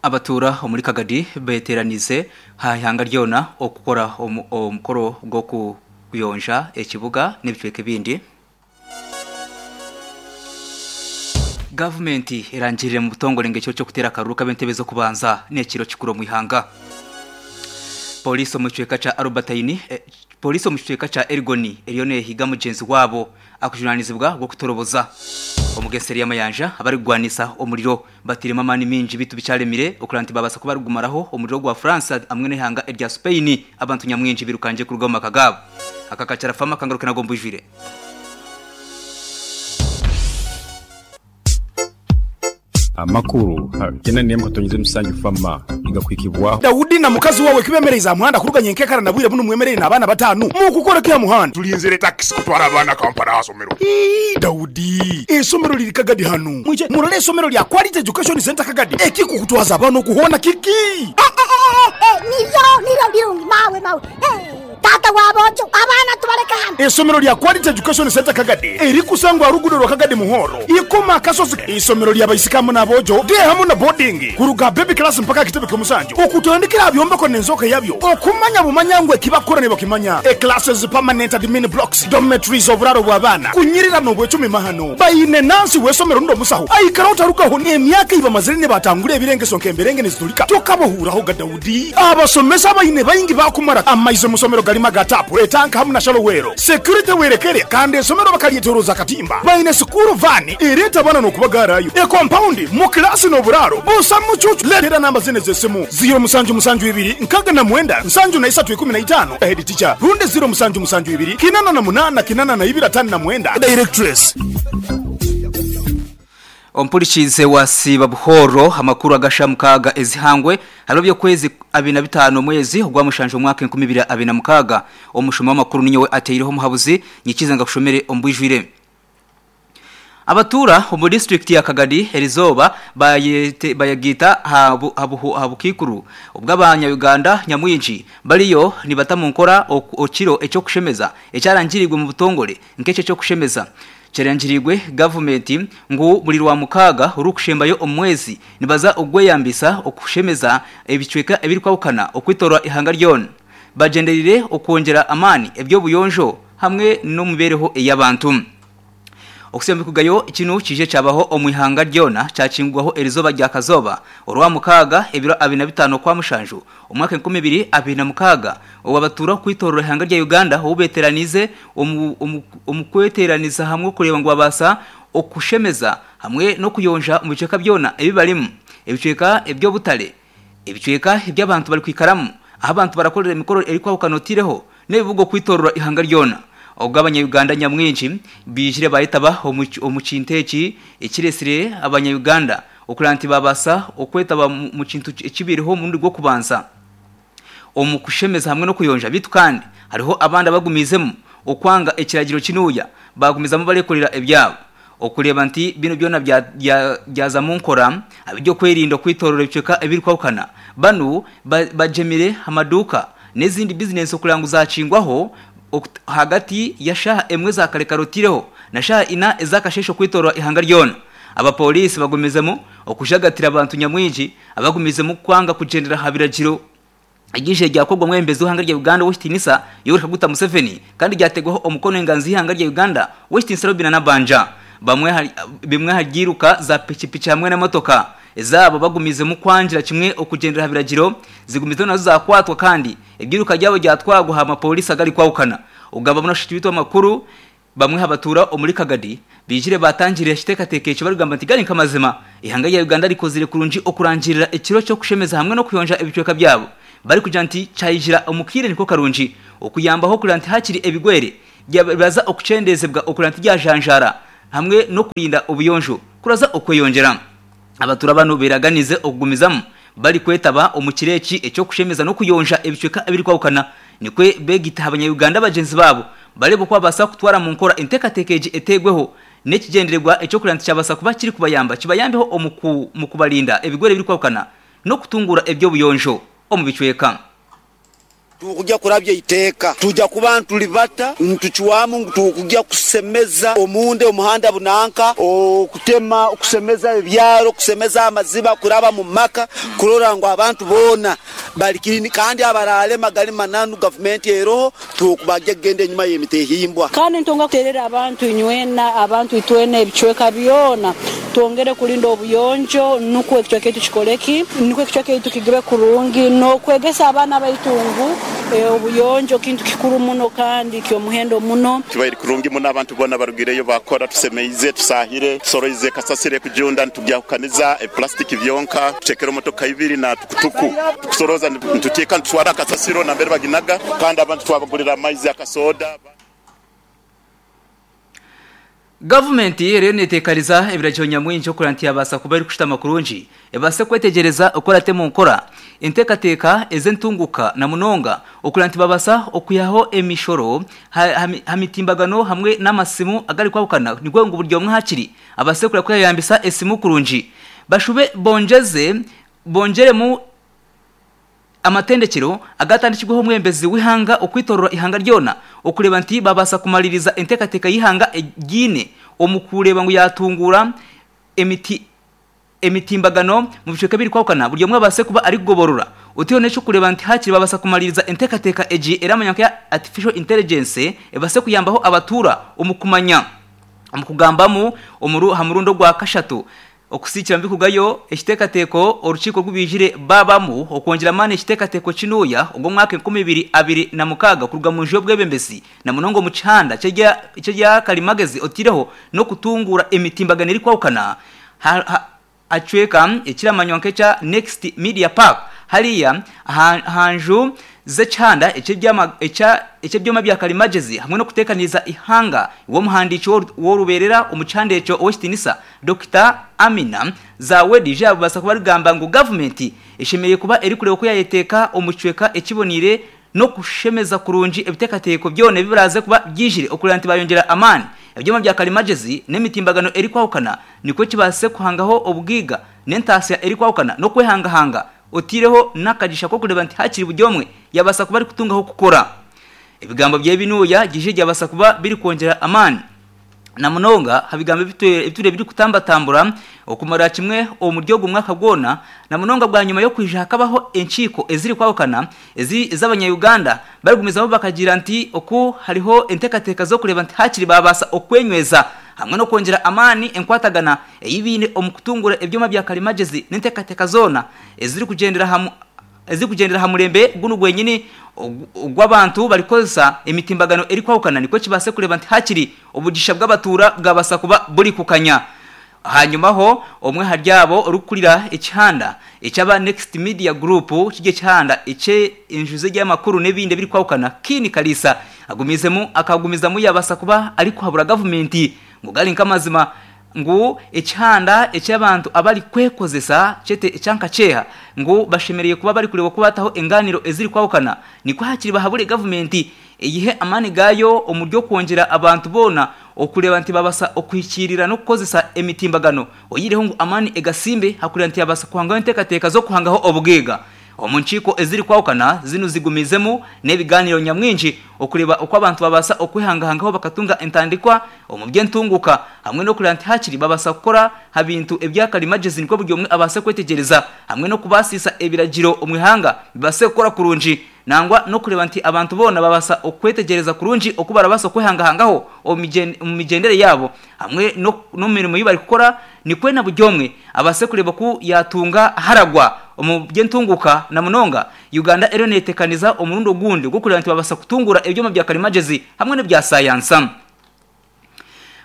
Abatuura omuri Kagadi beteeraniize aha ihanga ryona okukora omukoro gw'okuyonja ekibuga n'ebicweka ebindi. Gavumenti erangirire omu butongore ngu ekiro ky'okuteera akaruru k'ab'entebe z'okubanza n'ekiro kikuru omu ihanga. Pooriisi omu kicweka kya Albertine Pooriisi omu kicweka kya Elgon eriyo neehiga mugyenzi waabo akujunaanizibwa gw'okutoroboza omugeseri y'amayanja abarikugwanisa omuriro Batairemu amaani maingi beitu bikyaremire okureba nti babaasa kuba barigumaraho omuriro gwa France hamwe n'eihanga erya Spain abantu nyamwingi birukangye kuruga omu maka gaabo. Aka kakyara fama kangaruke nago mbwijwire. Amakuru gena nemu katonyeze musanju fama nigakuhikibwaho. Daudi na mukazi wawe kibemereize aha muhanda kuruga nyenkekara na bwire bunu mwemereire n'abaana batanu mukukora ki aha muhanda? Tulinzire takisi kutwara abaana Kampala aha somero. Ii, Daudi, eisomero liri Kagadi hanu. Mwije murole eisomero lya Quality Education Centre Kagadi. Ekikukutwaza abaana oku hoona kiki? Niryo, niryo birungi mawe, mawe. Taata wa boojo, abaana tubaleke hanu. Eisomero lya Quality Education Centre Kagadi erikusangwa aha ruguudo rwa Kagadi Muhoro, Ikoma Akasozi. Eisomero lya baisiki hamu n'aboojo, day hamu na boarding, kuruga aha baby class mpaka aha kitebe ky'omusanju, okutandikira aha byombeko n'enzooka yabyo, okumanya bumanya ngu eki bakukora nibakimanya, e classes, permanent admin blocks, dormitories, oburaaro bw'abaana, kunyirira n'obwecumi mahano. Baine nansi w'eisomero rundi omusaho aikaraho tarugaho n'emyaka ei bamazire nibatangura ebirengeso nk'emberenge niziturika tokabahuuraho ga Daudi. Abasomesa abaine baingi baakumara amaizi omu somero garimu aga taapu, etanka hamu na shalowero. Security werekere kandi eisomero bakaryetoroza akatimba. Baine sikuuru vaani ereeta abaana n'okubagaarayo. Ekompaundi, mu kilaasi n'oburaaro busa mucuucu. Leetera namba zinu ez'esimu, ziiro musanju musanju ibiri nkaaga na mwenda nsanju na isatu ikumi na itaano, Head teacher, rundi ziiro musanju musanju ibiri kinana na munaana kinana na ibiri ataano na mwenda, Directress. Ompurikiize wasiiba buhooro amakuru agasha mukaaga ezihangwe hariho by'okwezi 25 omwezi ogwa mushanju omwaka 2026. Omushoma w'amakuru ninyowe ateireho omuhabuzi nyikize ngakushomere omu bwijwire. Abatuura omu disiturikiti ya Kagadi erizooba bayegaita aha bukaikuru bw'abanya Uganda nyamwingi bariyo nibata omunkora ekiro eky'okushemeza ekyarangiriirwe omu butongore nk'ekyo eky'okushemeza Kyerangiriirwe gavumenti ngu buri Rwamukaaga orurikushembayo omu mwezi nibaza ogweyambisa okushemeza ebicweka ebirikwahukana okwetoorora eihanga ryona bagyendereire okwongyera amaani eby'obuyonjo hamwe n'omumibeereho ey'abantu. Okusembukugayo kinu kije kyabaho omu ihanga ryona kyakingurwaho erizooba rya Kazooba, Orwamukaaga, ebiro 25 Okwamushanju, Omwaka 2026, obu abatuura okwitoorora eihanga rya Uganda obu beeteeraniize omu kweteeraniza hamwe okureeba ngu babaasa okushemeza hamwe n'okuyonja omu bicweka byona ebi barimu, ebicweka eby'obutare, ebicweka ebi abantu barikwikaramu, ahu abantu barakorera emikoro erikwahukana otaireho n'ebibuga okwitoorora eihanga ryona. Obwo abanya-Uganda nyamwingi baijire baayetaba omu kintu eki ekireetsire abanya-Uganda Okureeba nti baabaasa okwetaba omu kintu ekibaireho omurundi gw'okubanza omu kushemeza hamwe n'okuyonja beitu kandi hariho abandi abagumiizemu okwanga ekiragiro kinuuya baagumizamu bareekorera ebyabo. Okureeba nti binu byona byaza mu nkora abeby'okwerinda okwetoorora ebicweka ebirikwahukana banu bagyemire amaduuka n'ezindi bizinensi okureeba ngu zaakingwaho ahagati ya shaaha emwe za kare kare otaireho na shaaha ina ez'akasheeshe okwetoorora eihanga ryona. Abapooriisi bagumizemu okujagatira abantu nyamwingi abagumiizemu kwanga kugyendera aha biragiro. Ery'eizooba ryakorwa omwebembezi w'eihanga rya Uganda ow'ekitiinisa Yoweri Kaguta Museveni kandi ryateebwaho omukono enganzi y'eihanga rya Uganda ow'ekitiinisa Robinah Nabbanja. Bamwe bimwe aha byiruka za pikipiki hamwe n'emotoka ezaabo bagumiizemu kwangira kimwe okugyendera aha biragiro zigumizemu nazo zakwatwa kandi ebyiruka byabo byatwarwa aha mapooriisi agarikwahukana. Okugamba muno shiti beitu amakuru Bamwe aha batuura omuri Kagadi baijire baatangirira ekiteekateeko ekyo barikugamba nti gari nk'amazima, eihanga rya Uganda rikozire kurungi okurangirira ekiro ky'okushemeza hamwe n'okuyonja ebicweka byabo barikugira nti kyaijira omu kaire niko karungi okuyambaho kureba nti hakiri ebigwere byaza okukyendeezebwa okureba nti byajanjaara hamwe n'okurinda obuyonjo kuraza okweyongyera. Abatuura banu beeraganize okugumizamu barikwetaba omu kiro eki eky'okushemeza n'okuyonja ebicweka ebirikwahukana nikwo beegaita aha banya-Uganda bagyenzi baabo bareebe oku babaasa kutwara mu nkora enteekateeka egi eteegweho n'ekigyendererwa eky'okureeba nti kyabaasa kuba kirikubayamba kibayambeho omu kubarinda ebigwere ebirikwahukana n'okutunguura eby'obuyonjo omu bicweka. Tukugya kurabya eiteeka. Tuja kuba nitulibata nitucwamu ngu tukugya kusemeza omunda omuhanda bunanka, okutema, okusemeza ebyaro, okusemeza amaziba kuraba mu maka kurora ngu abantu boona bali kirini kandi abaraalema gali mananu gavumenti eroho tukubagya kugenda enyuma y'emitehimbwa. Kandi nitwongera kuterera abantu inywena, abantu itwena ebicweka byona twongere kulinda obuyonjo nukwo ekicweka kyaitu kikole ki? Nukwo ekicweka kyaitu kigibe kurungi n'okwegesa abaana baitu ngu obuyonjo kintu kikuru muno kandi ky'omuhendo muno. Kibaire kurungi muno abantu boona barugireyo baakora, tusemeize, tusaahire, tusoroize kasasiro ekujunda nitugyahukaniza ebipulasitiki byonka, tutekere motoka ibiri na tukutuku tukusoroza nituteeka nitutwara aha kasasiro nambere baginaga kandi abantu twabagurira amaizi akasoda. Gavumenti eriyo neteekariza ebiragiro nyamwingi okureba nti yabaasa kuba erikushutama kurungi ebaase kwetegyereza oku erate omu nkora enteekateeka ez'entunguka na munonga okureba nti babaasa okwihaho emishoro aha mitimbagano hamwe n'amasimu agarikwahukana nikwo ngu buri omwe hakiri abaase kureba ku yayeyambisa esimu kurungi bashube bongyeze bongyeremu Amatendekyero agaatandikirweho omwebembezi w'eihanga okwitorora eihanga ryona okureeba nti baabaasa kumaririza enteekateeka y'eihanga egiine omu kureeba ngu yaatunguura emiti emitimbagano mu bicweka ebirikwahukana buri omwe abaase kuba arikugoborora oteireho n'eky'okureeba nti haakiri baabaasa kumaririza enteekateeka egi eramanywa nka Artificial Intelligence ebaase kuyambaho abatuura omu kumanya omu kugambamu omuru aha murundi ogwa kashatu Okusiikira mubikugayo ekiteekateeko orukiiko oru baijire baabamu okwongyera amaani ekiteekateeko kinuuya ogw'omwaka 2026 kuruga munju y'obwebembezi na munonga omu kihanda ky'erya karimagezi oteireho n'okutunguura emitimbagano erikwahukana aha kicweka ekiramanywa nk'ekya Next Media Park hariya aha nju z'ekihanda eky'ebyoma bya karimagezi hamwe n'okuteekaniriza eihanga iwe omuhandiiki w'orubeerera omu kihanda ekyo Ow'ekitiinisa Dokita Amina Zawedi yabaasa kuba arikugamba ngu gavumenti eshemereire kuba erikureeba oku yayeteeka omu kicweka ekiboneire n'okushemeza kurungi ebiteekateeko byona ebi biraaze kuba byijire okureeba nti bayongyera amaani ebyoma bya karimagezi n'emitimbagano erikwahukana nikwo kibaase kuhangaho obugaiga n'entaasya erikwahukana n'okwehangahanga oteireho n'akagisha k'okureeba nti hakiri buri omwe yabaasa kuba arikutungaho kukora. Ebigambo bye binuuya gije byabaasa kuba birikwongyera amaani. Na munonga aha bigambo ebitwire birikutambatambura okumarira kimwe omuri ogu mwaka gwona, na munonga bwanyima y'okwija hakabaho enkiiko ezirikwahukana ezi ez'abanya-Uganda barikugumizamu bakagira nti oku hariho enteekateeka z'okureeba nti haakiri baabaasa okwenyweza hamwe n'okwongyera amaani enkwatagana ei baine omu kutunguura ebyoma bya karimagyezi n'enteekateeka zoona ezirikugyendera aha Ezirikugyendera aha murembe gunu gwenyini ogw'abantu barikukozesa emitimbagano erikwahukana nikwo kibaase kureeba nti hakiri obugisha bw'abatuura bwabaasa kuba buri kukanya. Hanyumaho, omwe ahari abo orikukurira ekihanda eky'aba Next Media Group kiri ekihanda eky'enju z'ebyamakuru n'ebindi ebirikwahukana, Kin Kaliisa agumiizemu akagumizamu yabaasa kuba arikuhabura gavumenti ngu gari nk'amazima Ngu ekihanda eki abantu abari kwekozesa kyete ekya nka kyeha ngu bashemereire kuba bari kureeba oku bataho enganiro eziri kwahukana nikwo hakiri bahabure gavumenti eyihe amaani gaayo omuri okwongyera abantu boona okureeba nti babasa okuhikiirira n'okukozesa emitimbagano oyihireho ngu amaani egasimbe hakureeba nti yabasa kuhangaho enteekateeka z'okuhangaho obugaiga Omu nkiiko ezirikwahukana zinu zigumiizemu n'ebigaaniiro nyamwingi okureeba oku abantu babaasa okwehangahangaho bakatunga entandikwa omu by'entunguka hamwe n'okureeba nti hakiri babaasa kukora ha bintu ebya karimagyezi nikwo buri omwe abaase kwetegyereza hamwe n'okubaasiisa ebiragiro omu ihanga bibaase kukora kurungi nangwa n'okureeba nti abantu boona babaasa okwetegyereza kurungi oku barabaasa okwehangahangaho omu migyendere yaabo hamwe n'omu mirimo ei barikukora nikwo na buri omwe abaase kureeba oku yaatunga aharagwa omu by'entunguuka na munonga Uganda eriyo neetekaniza omurundi ogundi ogw'okureeba nti baabaasa kutunguura ebyoma bya karimagyezi hamwe n'ebya sayansa.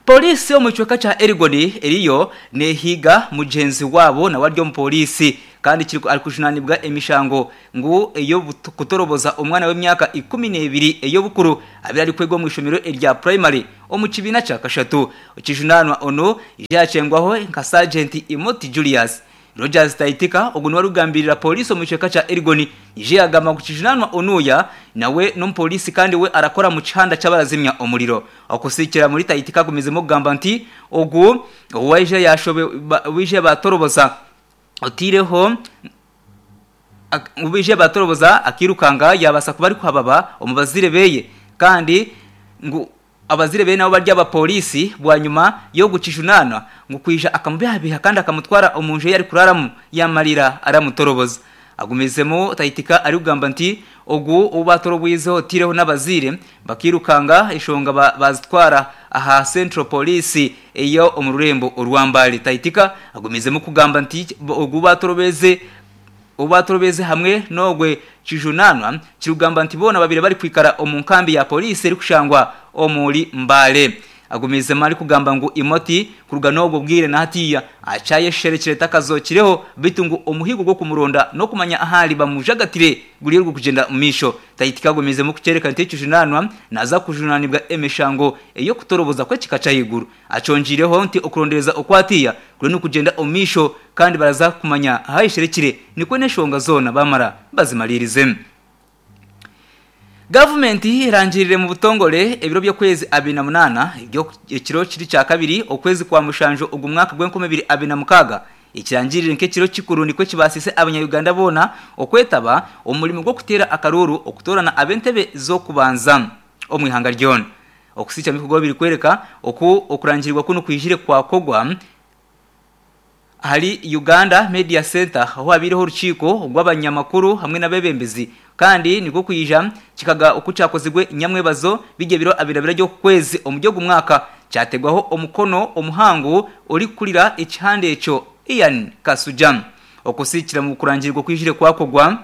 Pooriisi omu kicweka kya Elgon eriyo neehiiga mugyenzi waabo nawe ari omupooriisi kandi arikujunaanibwa emishango ngu ey'okutoroboza omwana w'emyaka 12 ey'obukuru abaire arikwega omu ishomero erya purayimari omu kibiina kya kashatu. Ekijunaanwa onu yakyengwaho nka Sergeant Imoti Julius. Rogers Taitika ogu niwe arikugambirira pooriisi omu kicweka kya Elgon yaija yagamba ngu kijunaanwa onuya nawe n'omupooriisi kandi we arakora omu kihanda ky'abarazimya omuriro. Okusiikira muri Taitika agumizemu okugamba nti ogu owaija yashobe owaija batoroboza oteireho. Ngu baije batoroboza akirukanga yabasa kuba arikuhababa omu bazaire beye kandi ngu abazaire beye nabo bari abapoliisi bwanyima y'ogukijunaanwa ngu kwija akamubihabiha kandi akamutwara omunju ei arikuraramu yamarira aramutoroboza. Agumizemu Taitika arikugamba nti ogu ou batorobwizeho otaireho n'abazaire bakirukanga eshonga bazitwara aha Central Police ey'omu rurembo orwa Mbale. Taitika agumizemu kugamba nti ogu batorobeze Obu baatorobeize hamwe n'ogwe kijunaanwa kirikugamba nti boona babaire barikwikara omu nkambi ya poliisi erikushangwa omuri Mbale. Agumiizemu arikugamba ngu Imoti kuruga n'obwo bwire na hatiiya akyayesherekire takazookireho beitu ngu omuhigo gw'okumuronda n'okumanya ahu ari bamujagatire guriyo gurikugyenda omu maisho. Taitika agumiizemu kukyoreka nti ekijunaanwa naaza kujunaanibwa emishango ey'okutoroboza kw'ekika ky'ahaiguru. Akyongyeireho nti okurondereza oku hatiiya kuriyo nikugyenda omu maisho kandi baraza kumanya ahayesherekire nikwo n'enshonga zoona bamara bazimariirize. Gavumenti erangirire mu butongore ebiro by'okwezi 28 ekiro kiri kyakabiri okwezi kwa mushanju ogu mwaka gw'enkumi ibiri abiri na mukaaga ekirangirire nk'ekiro kikuru nikwo kibaasise abanya-Uganda boona okwetaba omu murimo gw'okuteera akaruuru okutoorana ab'entebe z'okubanza omu ihanga ryona. Okusiikya ebikorwa birikworeka oku okurangirirwa kunu kwijire kwakorwa ahari Uganda Media Centre ahu habaireho orukiiko rw'abanyamakuru hamwe n'abeebembezi kandi nikwo kwija kikaga oku kyakozirwe nyamwebazo biri ebiro abiri na bina by'okwezi omuri ogu mwaka kyategwaho omukono omuhangu orikukurira ekihanda ekyo Ian Kasujja. Okusiikira omu kurangirirwa okwijire kwakorwa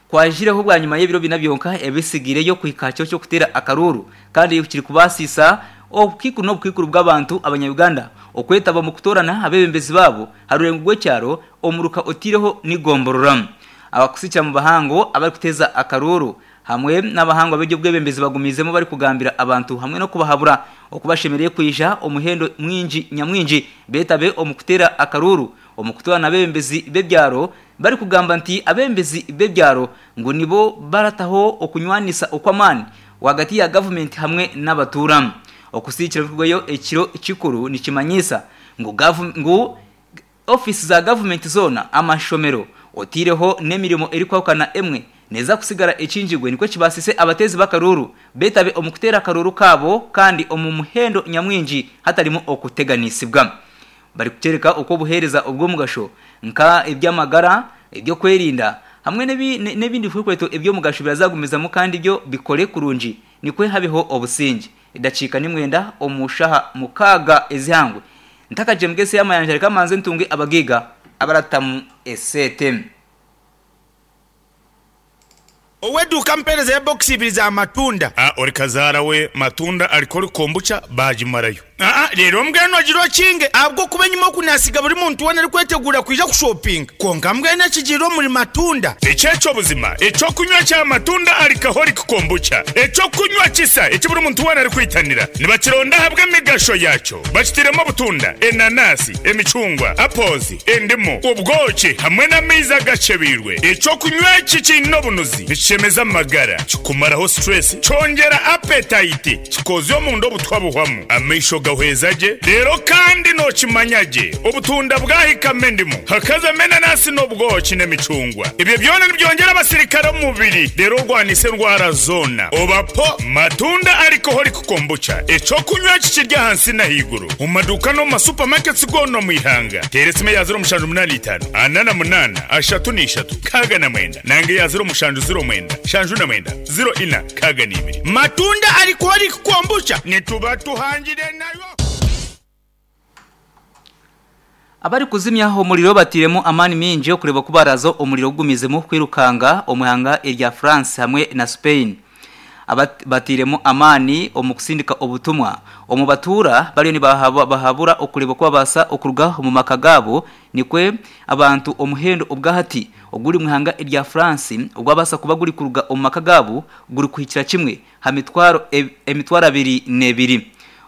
Kwajireho bwanyima y'ebiro bina byonka ebitsigaireyo kuhika aha kiro ky'okuteera akaruuru kandi kirikubaasisa obukaikuru n'obukaikuru bw'abantu abanya-Uganda okwetaba omu kutoorana abeebembezi baabo aha rurengo rw'ekyaro, omuruka otaireho n'egomborora. Abakusikira mu bahango abarikuteeza akaruuru hamwe n'abahangu ab'eby'obwebembezi bagumiizemu barikugambira abantu hamwe n'okubahabura oku bashemereire kwija omuhendo mwingi nyamwingi beetabe omu kuteera akaruuru omu kutoorana abeebembezi b'ebyaro Barikugamba nti abembezi b'ebyaro ngu nibo barataho okunywanisa okw'amaani rwagati ya gavumenti hamwe n'abatuura. Okusiikira ebirikurugayo ekiro kikuru nikimanyiisa ngu ngu ofiisi za gavumenti zoona, amashomero, otaireho n'emirimo erikwahukana emwe neeza kusigara ekingirwe nikwo kibaasise abateezi b'akaruuru beetabe omu kuteera akaruuru kaabo kandi omu muhendo nyamwingi hatarimu okuteganisibwa. Barikukyoreka oku obuheereza obw'omugasho nka eby'amagara, eby'okwerinda hamwe n'ebindi bikwekweto eby'omugasho birazagumizamu kandi byo bikore kurungi nikwo habeho obusingye. Edakiika ni mwenda omu shaha mukaaga ez'eihangwe. Ntakagyembwa ensi y'amayanja reka manze ntunge abagaiga abaratamu eseete. Ow'eduuka ampeereza ya bokisi ibiri za matunda. A Ori kazaara we matunda arikori kombucha baagimarayo. Aa Reero mbwenu ogire okinge ahabw'okuba enyima oku naasiga buri muntu weena arikweteguura kwija kushopinga. Kwonka mbwenu ekigiire omuri matunda. Eki eky'obuzima, eky'okunywa kya matunda alcoholic kombucha, eky'okunywa kisa eki buri muntu weena arikwitanira. Nibakironda ahabw'emigasho yaakyo. Bakitairemu obutunda, enanasi, emicungwa, apples, endimu, obwoki hamwe n'amaizi agakyebeirwe. Eky'okunywa eki kiine obunuzi, nikishemeza amagara, kikumaraho stress, kyongyera appetite, kikoozya omunda obutwa buhwamu, amaisho gahweza gye, reero kandi nookimanya gye obutunda bwahikamu endimu, hakazamu enanasi n'obwoki n'emicungwa. Ebyo byona nibyongyera abasirikare omu mubiri reero orwanise endwara zoona. Oba po matunda alcoholic kombucha, eky'okunywa eki kiri ahansi n'ahaiguru omu maduuka n'omu ma supermarkets goona omu ihanga. Teera esimu eya 0785 48 33 69 nanga eya 0709 79 04 62. Matunda alcoholic kombucha nituba tuhangire nayo. Abarikuzimya omuriro batairemu amaani maingi okureeba oku baraaza omuriro gugumizemu kwirukanga omu ihanga erya France hamwe na Spain. Batairemu amaani omu kusindika obutumwa omu batuura bariyo nibahabura okureeba oku babaasa okuruga omu maka gaabo nikwo abantu omuhendo obwahati oguri omu ihanga erya France ogwabaasa kuba gurikuruga omu maka gaabo gurikuhikira kimwe ha mitwaro 22.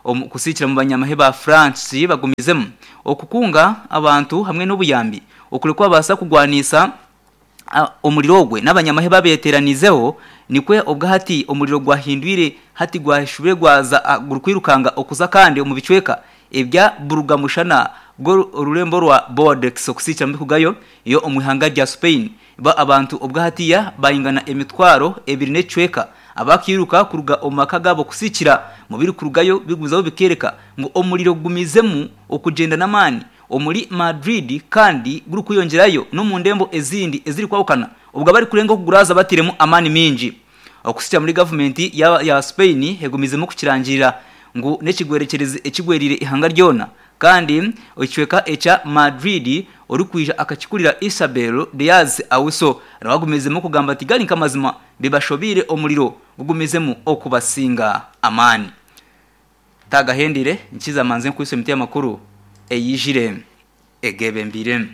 Omu kusiikira omu banyamahe ba France bagumizemu okukunga abantu hamwe n'obuyambi okuri kubabaasa kugwaniisa omuriro ogwe n'abanyamahe babeteraniizeho nikwe obwahati omuriro gwahindwire hati gwashubire gwaza gurikwirukanga okuza kandi omu bicweka ebya buruga-mushana bw'orurembo rwa Bordeaux okusiikira omu bikugayo yo omu ihanga rya Spain. Bo abantu obwahatiya baingana emitwaro ebiri n'ekicweka abakairuka kuruga omu maka gaabo kusiikira mu birikurugayo bigumizaho bikeereka ngu omuriro gugumizemu okugyenda n'amaani omuri Madrid kandi gurikweyongyerayo n'omu ndembo ezindi ezirikwahukana obwo abarikurenga okuguraaza batairemu amaani maingi. Okuhitsya muri gavumenti ya Spain egumizemu kukirangirira ngu n'ekigwerekyerezi ekigweriire eihanga ryona kandi ekicweka ekya Madrid orikwija akakikurira Isabel Diaz Ayuso nawe agumizemu kugamba ati gari nk'amazima bibashobeire omuriro gugumizemu okubasinga amaani. Tagahendire nkiza manze nkwise emiti y'amakuru eyijire egebembeire.